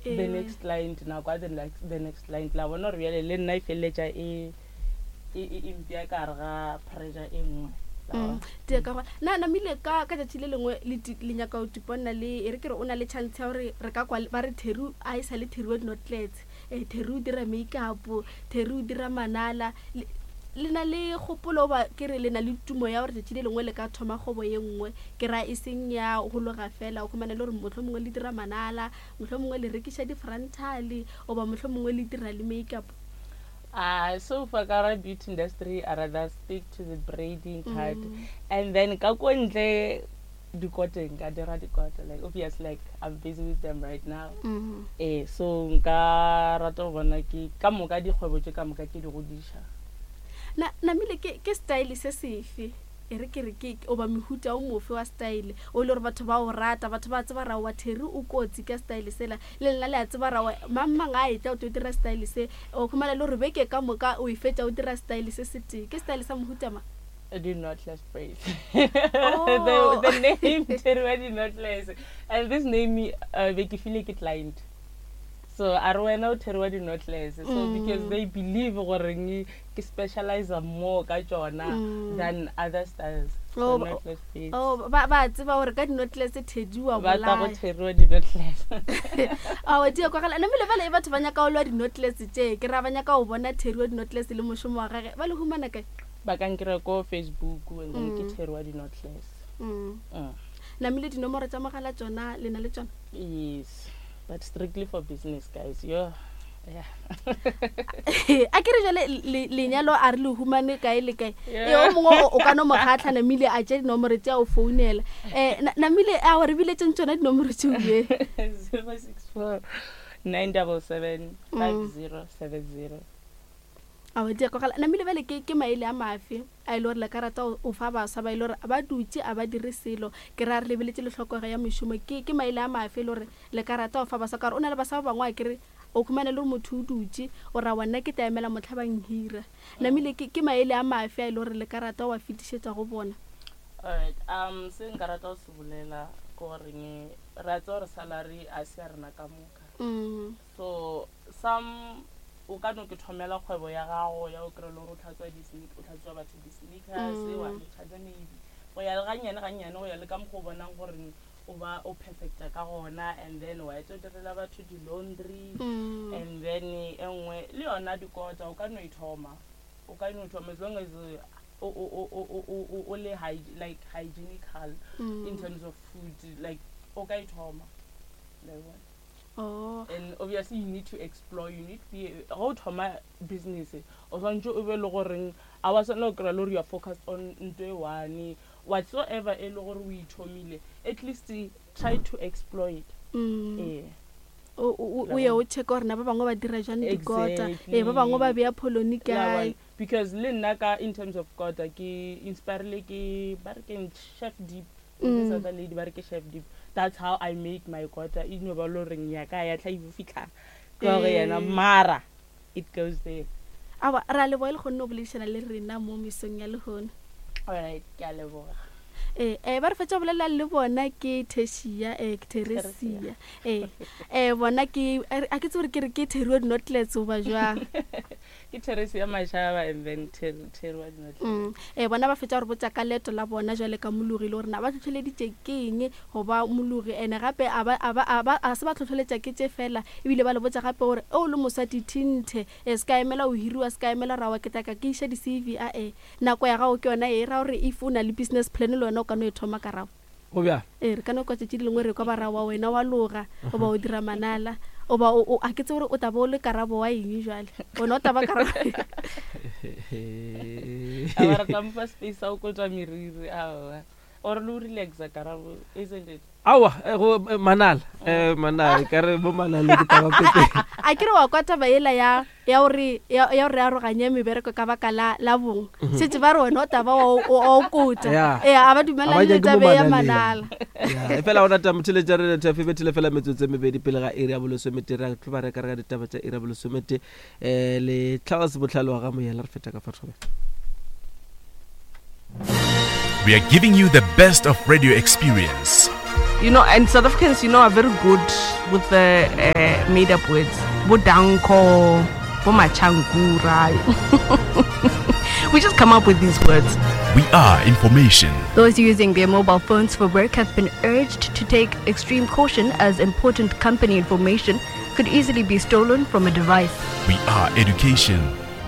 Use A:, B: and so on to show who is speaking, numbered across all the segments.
A: The next client nako ya the next client la bona gore bjale le nna e feleletša e e e mpea ka gare ga pressure e nngwe.
B: Tee ka gona na namile ka ka tšatši le lengwe le le nyaka go tiponna le e re ke re o na le chance ya gore re ka kwa ba re Terry a e sa le Terry wa dinotlets um Terry o dira makeup Terry o dira manala le na le kgopolo ba ke re le na le tumo ya gore tšatši le lengwe le ka thoma kgwebo ye nngwe ke ra e seng ya go loga fela o khumana le gore motlho mongwe le dira manala motlho mongwe le rekiša di-frontale goba motlho mongwe le dira le makeup.
A: So for ka beauty industry, I rather stick to the braiding part. And then ka ko ntle dikoteng ka dira dikota like obviously like I'm busy with them right now. Eh so nka rata go bona ke ka moka dikgwebo tše ka moka ke di godiša.
B: Na namile ke ke style se sefe e re ke re ke oba mehuta o mofe wa style o le gore batho ba o rata batho ba tseba ra wa Terry o kotsi ka style sela le lena le a tseba ra wa mang mang a etla o tlo dira style se o khumana le gore beke ka moka o e fetša o dira style se se tee ke style sa mohuta ma.
A: The knotless braids. Oh. The name Terry wa di-knotless and this name be ke file ke client so a re wena o Terry wa di-knotless so because they believe gore ke specialize more ka tšona than other styles. So
B: Oh,
A: knotless braids.
B: Oh, ba ba tseba gore ka di-knotless Teddy wa
A: Ba tla go
B: bolaya.
A: Terry wa di-knotless.
B: Aowa, di a kwagala. Namile bale e batho ba nyaka go lwa di-knotless tše ke ra ba nyaka go bona Terry wa di-knotless le mošomo wa gage ba le humana kae?
A: Ba ka nkry-a ko Facebook and then ke Terry wa di-knotless.
B: Namile dinomoro tša mogala tšona le na le tšona?
A: Yes, but strictly for business guys. Yo. Yeah.
B: A ke re jale lenyalo a re le humane kae le kae. E o mongwe o ka no mo kgatlha namile a tše dinomoro tše a o founela. Namile a re biletseng tšona dinomoro tšeo ye.
A: 064 977 5070.
B: Aowa, di a kwagala. Namile bjale ke ke maele a mafe a e le gore le ka rata o fa baswa ba e le gore ba dutše a ba dire selo ke ra re lebeletše le tlhokego ya mešomo ke ke maele a mafe e le gore le ka rata o fa baswa ka gore o na le baswa ba bangwe a kere o khumana le gore motho o dutše o ra wa nna ke tla emela motlha ba nhira. Namile ke ke maele a mafe a e le gore le ka rata o a fetišetša go bona?
A: Alright, se nka rata go se bolela ke goreng re a tseba gore salary a se ya rena ka moka. So some o ka no ke thomela kgwebo ya gago ya o kry-e le gore o tlhatswa o tlhatswa batho di-sneakers wa le charger maybe go ya le gannyane gannyane go ya le ka mokgwa o bonang gore o ba o perfecta ka gona and then wa etsa o direla batho di-laundry and then e nngwe le yona dikota o ka no e thoma o ka no thoma as long as o o o o o o le like hygienical in terms of food like o ka e thoma like what.
B: Oh.
A: And obviously you need to explore, you need to be, ga o thoma business, o swantse o be le goreng, a wa swanela go kry-a le gore you are focused on nto e one, whatsoever e le gore o ithomile, at least try to explore it. Ee.
B: O ye o check gore na ba bangwe ba dira jang dikota, ee ba bangwe ba bea poloni kae.
A: Because le nna ka in terms of kota ke inspirile ke ba re ke Chef Deep. This other lady ba re ke Chef Deep. That's how I make my kota. E no ba le goreng ya ka ya tla e fitlha ka gore yena mara it goes there.
B: Aowa, re a leboga le kgonne go boledišana le rena mo mesong ya lehono.
A: Alright, ke a leboga.
B: Ee, eh, ba re fetša go bolela le bona ke Tertia, eh, ke Theresia. Ee, eh, bona ke, a ke tsebe gore ke re ke Terry wa di-knotlets goba jwang.
A: Ke Theresia Mashaba and then Terry, Terry wa di-knotlets.
B: Ee, bona ba fetša go re botša ka leeto la bona jwale ka mologi le gore na ba hlohleleditše ke eng go ba mologi ene gape a ba, a ba, a ba, a se ba hlohleletša ke tše fela ebile ba le botša gape gore o le moswa dithinthe, e se ka emela go hiriwa, se ka emela ra wa ke tla ka ke iša di-C_V a e. Nako ya gago ke yona e ra gore if o na le business plan le wena o ka no e thoma ka rago.
C: Go bjalo?
B: Ee, re ka no kwa tšatši le lengwe re kwa ba ra wa wena wa loga goba o dira manala goba o, o, a ke tsebe gore o tla ba o le karabo wa eng jwale. Wena o tla ba karabo.
A: A ba re tla mo fa space sa go kotwa meriri aowa. Or le o relaxa karabo, isn't it?
C: Aowa, go manala, manala, e ka re bo manala ke taba pete.
B: A ke re wa kwa taba yela ya ya gore ya ya gore aroganye mebereko ka baka la la bong. Šetše ba re wena o taba wa o kota.
C: Yeah.
B: Ee, a ba
C: A ba
B: dumelane le
C: nyake mo
B: taba ya
C: manaleng.
B: manala.
C: Ya, e fela gona taba motheletša re letha fe bethile fela metsotso e mebedi pele ga iri ya bolesomete re tlo ba reka re ka ditaba tša iri ya bolesomete um le Charles Bohlale wa ga Moyela re feta ka fa thobela.
D: We are giving you the best of radio experience. You know, and South Africans, you know, are very good with the uh, made up words. Bo danko, bo machankura. We just come up with these words.
E: We are information.
F: Those using their mobile phones for work have been urged to take extreme caution as important company information could easily be stolen from a device.
E: We are education.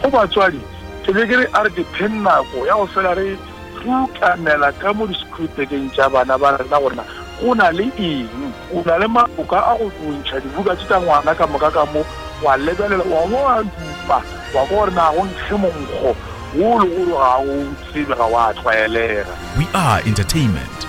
G: Go batswadi, ke be ke re a re dipheng nako ya go fela re rutamela ka mo disekhurutekeng tša bana ba rena gore na go na le eng. O na le maloka a go ntšha dibuka tše tša ngwana ka moka ka mo, wa lebelela, wa bo wa dupa, wa kwa gore na go nkge monkgo wo le gore ga o tsebe, ga wa tlwaelega.
E: We are entertainment.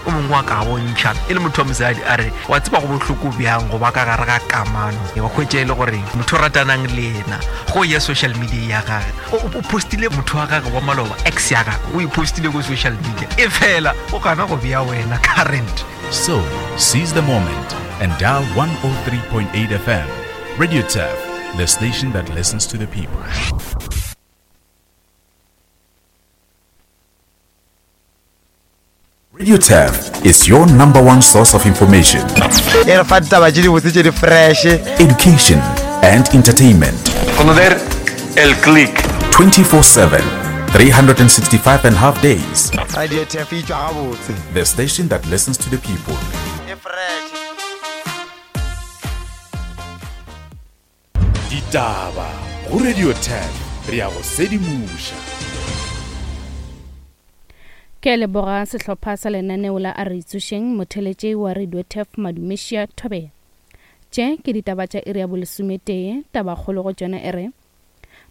H: O mongwe wa ka bontšha e le motho wa mosadi a re, Wa tseba go bohloko bjang go ba ka gare ga kamano, wa hwetša e le gore motho o ratanang le yena go ya social media ya gage o postile motho wa gage wa maloba, ex ya gage o e postile ko social media, e fela o gana go bea wena current.
E: So, seize the moment and dial 103.8 FM. Radio Turf, the station that listens to the people. Radio Turf is your number one source of information.
I: E re fa ditaba tše dibotse tše di fresh.
E: Education and entertainment.
J: Conocer el click.
E: 24/7, 365 and half days.
I: Radio Turf e tšwa gabotse.
E: The station that listens to the people.
I: E fresh.
E: Ditaba go Radio 10 re ya go sedimoša.
K: Ke a leboga sehlopha sa lenaneo la A Re Itsošeng, motheletši wa Radio Turf Madumešia Thobela. Tše ke ditaba tša iri ya bolesometee, tabakgolo go tšona e re,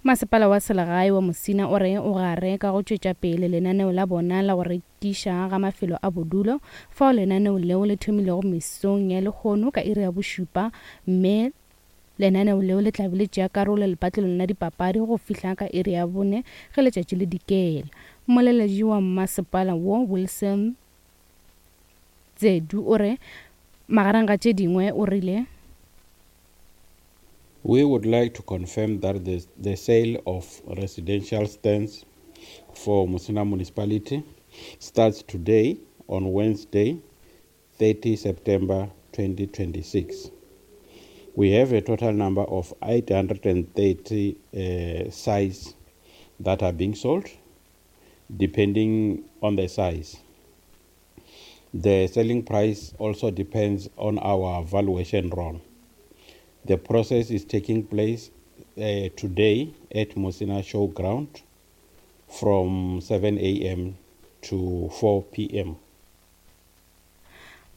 K: Masepala wa selegae wa Musina o re o gare ka go tšwetša pele lenaneo la bona la go rekiša ga mafelo a bodulo, fao lenaneo leo le thomilego mesong ya lehono ka iri ya bošupa mme Lenaneo leo le tla be le tšea karolo lepatlelong la dipapadi go fihla ka iri ya bone ge letšatši le dikela. Mmoleledi wa mmasepala wo, Wilson Tsedu o re magareng ga tše dingwe o rile,
L: We would like to confirm that the, the sale of residential stands for Musina Municipality starts today on Wednesday, 30 September 2026. We have a total number of 830 uh, sites that are being sold, depending on the size. The selling price also depends on our valuation roll. The process is taking place uh, today at Musina Showground from 7 a.m. to 4 p.m.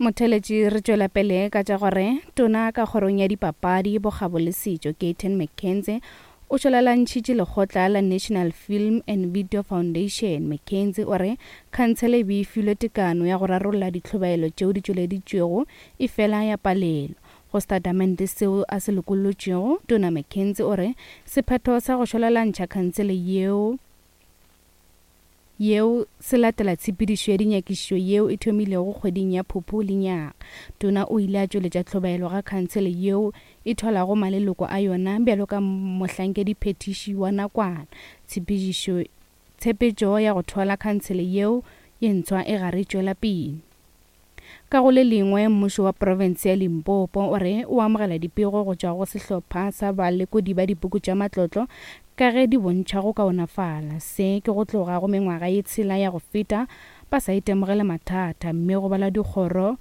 K: Motheeletši re tšwela pele ka tša gore Tona ka kgorong ya dipapadi, bokgabo le setšo Gayton McKenzie o šwalalantšhitše lekgotla la National Film and Video Foundation. McKenzie o re khansele e be e filwe tekano ya go rarolla ditlhobaelo tšeo di tšweleditšwego efela ya palelwa. Go setatamente seo a se lokollotšego, Tona McKenzie o re sephetho sa go šwalalantšha khansele yeo yeo se latela tshepedišo ya dinyakišišo yeo e thomilego kgweding ya Phuphu lenyaga. Tona o ile a tšweletša tlhobaelo ga khansele yeo e thwalago maleloko a yona bjalo ka mohlankediphethiši wa nakwana. Tshepedišo tshepetšo ya go thwala khansele yeo ye ntshwa e gare e tšwela pele. Ka go le lengwe, mmušo wa profense ya Limpopo o re o amogela dipego go tšwa go sehlopha sa balekodi ba dipuku tša matlotlo ka ge di bontšha go kaonafala. Se ke go tloga go mengwaga ye tshela ya go feta ba sa itemogele mathata mme go balwa dikgoro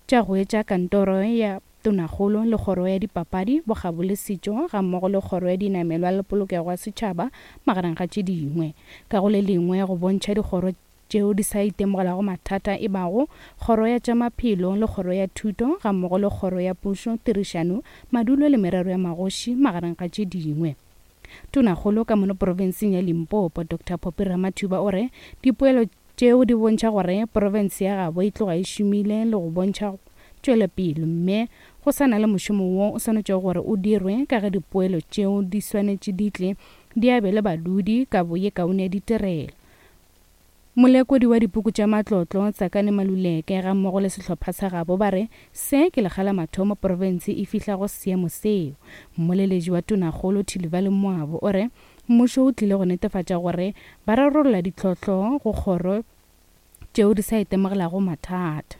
K: tša go etša kantoro ya Tonakgolo le kgoro ya dipapadi, bokgabo le setšo gammogo le kgoro ya dinamelwa le polokego ya setšhaba magareng ga tše dingwe. Ka go le lengwe go bontšha dikgoro tšeo di sa itemogelago mathata e bago Kgoro ya tša Maphelo le Kgoro ya Thuto gammogo le Kgoro ya Pušo, Tirišano, Madulo le Merero ya Magoši, magareng ga tše dingwe. Tonakgolo ka mono profenseng ya Limpopo, Doctor Phophi Ramathuba o re dipoelo tšeo di bontšha gore profense ya gabo e tloga e šomile le go bontšha tšwelopele mme go sa na le mošomo wo o swanetšego gore o dirwe ka ge dipoelo tšeo di swanetše di tle di abele badudi kabo ye kaone ya ditirelo. Molekodi wa dipuku tša matlotlo, Tsakani Maluleke, gammogo le sehlopha sa gabo ba re se ke lekga la mathomo profense e fihla go seemo seo. Mmoleledi wa Tonakgolo Thilivhali Mwabo o re mmušo o tlile go netefatša gore ba rarolla ditlhohlo go kgoro tšeo di sa itemogelago mathata.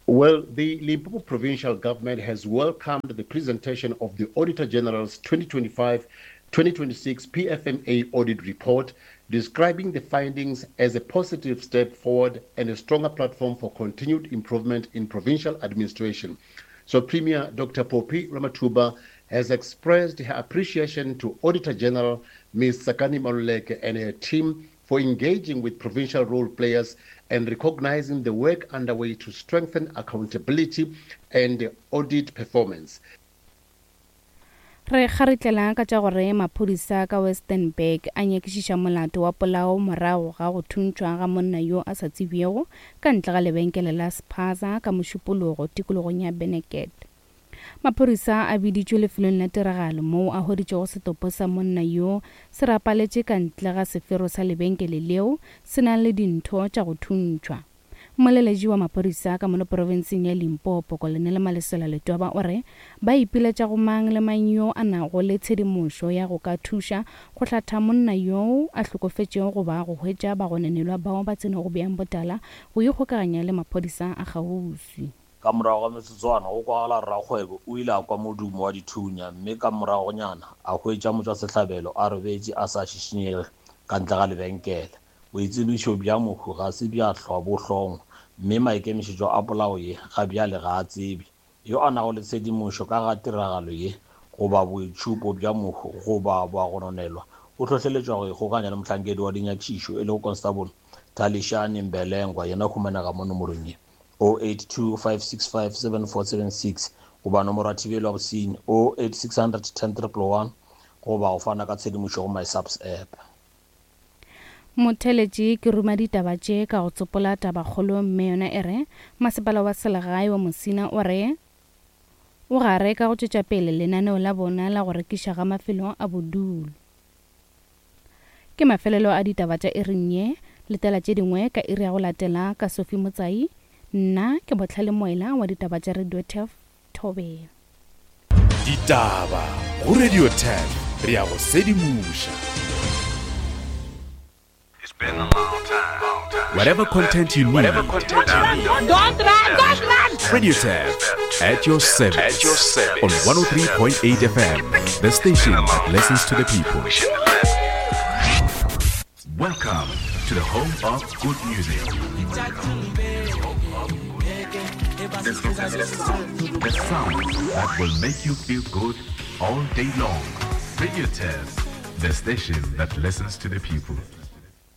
M: Well, the Limpopo provincial government has welcomed the presentation of the Auditor General's 2025 2026 PFMA audit report, describing the findings as a positive step forward and a stronger platform for continued improvement in provincial administration. So, Premier Dr. Phophi Ramathuba has expressed her appreciation to Auditor General Ms. Tsakani Maluleke and her team for engaging with provincial role players and recognizing the work underway to strengthen accountability and audit performance.
K: Re kgaritlela ka tša gore maphodisa ka Westenburg a nyakišiša molato wa polao morago ga go thuntšhwa ga monna yo a sa tsebjego ka ntle ga lebenkele la Spaza ka Mošupologo tikologong ya Beneket. Maphodisa a biditšwe lefelong la tiragalo moo a hweditšego setopo sa monna yoo se rapaletše ka ntle ga sefero sa lebenkele leo se nang le dintho tša go thuntšhwa. Mmoleletši wa maphodisa ka mono profenseng ya Limpopo, Kolonele Malesela Letwaba o re ba ipiletša go mang le mang yo a nago le tshedimošo ya go ka thuša go hlatha monna yoo a hlokofetšego goba go hwetša bagononelwa bao ba tsenego bjang botala go ikgokaganya le maphodisa a kgauswi.
N: Ka morago ga metsotswana, go kwagala rakgwebo o ile a kwa modumo wa dithunya mme ka moragonyana a hwetša motšwasehlabelo a robetše a sa šišinyege ka ntle ga lebenkele. Boitsebišo bja mohu ga se bja hlwa bo hlongwa mme maikemišetšo a polao ye ga bjale ga a tsebje. Yo a nago le tshedimošo ka ga tiragalo ye goba boitšhupo bja mohu goba bagononelwa o hlohleletšwa go ikgokanya le mohlankedi wa dinyakišišo e lego Constable Thalishani Mbelengwa yena o humanega mo nomorong ye. 082 565 7476 goba nomoro ya thibelo ya bosenyi 08600 10 111 goba go fana ka tshedimošo go MySAPS app.
K: Motheeletši, Ke ruma ditaba tše ka go tsopola tabakgolo mme yona e re, Masepala wa Selegae wa Musina o re o gare ka go tšwetša pele lenaneo la bona la go rekiša ga mafelo a bodulo. Ke mafelelo a ditaba tša iring ye. Letela tše dingwe ka iri ya go latela ka Sophie Motsai. Nna ke Bohlale Moela wa ditaba tša Radio Turf Thobela.
E: Ditaba go Radio Turf re a go sedimoša. Whatever content you need.
O: Don't run, don't run!
E: Radio Turf at your service.
J: At your service.
E: On 103.8 FM, the station that listens to the people. Welcome to the home of good music. The sound that will make you feel good all day long. Radio Test, the station that listens to the people.